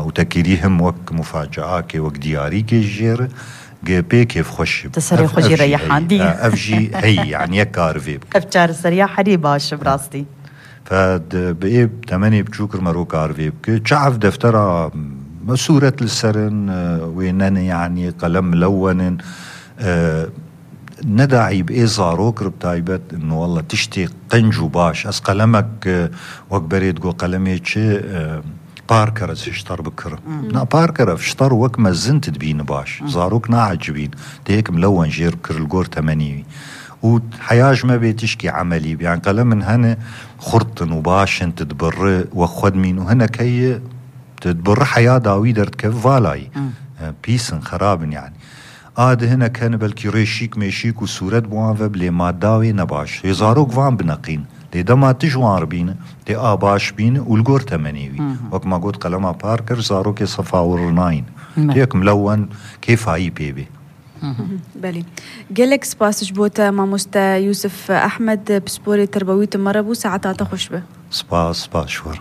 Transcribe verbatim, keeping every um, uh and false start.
û te kirî him wek mufacaakê, wek diyarîkê jê re, gi pê kêfxweş e. Te serê Ev- xwe jî ev jî reyehandî. heyî, ha, ev jî heyî, yani yek kar vê bike. Ev çareseriya herî baş e bi rastî. Fe di- bi ê temenê biçûk re mero kar vê bike. Çi ev deftera, me sûret li ser in, e, wê nene, yani qelem milewen in, e, ne daî bi ê zarok re bi taybet, no, walla tiştê qenc û baş. Ez qelemek, e, wek berê digo, qelemê çi, e, Parker ez hiştar bikirim. Na Parker ev ştar wek mezin tu dibîni baş. Zarok naecibîn. Tê yek milewen jêr bikir li gor temenî wî. Û heya ji me bê tişkî emelî bi. Yani qelemin hene xurt in û baş in, tu dibirri wek xwe dimîn û hinek heye tu dibirri heya dawî derdikeve valayî. E, pîs in, xerab in yani. A di hinek hene belkî rêşîk mêşîk û sûret bi wan ve bi, lê madda wê ne baş. Lê zarok van bineqîn. Lê dema tu ji wan re bîne, tê a baş bîne û li gor temenê wî. Wek ma got, qelema Parker zarokê sefa wir nayîn. Me. Tê yek milewen kêfayî pê bê. Belê. Gelek spas ji bo te mamoste Yusuf Ahmed, pisporê terbewî tu me re bû, saeta te xweş be. Spas, spas ji we re.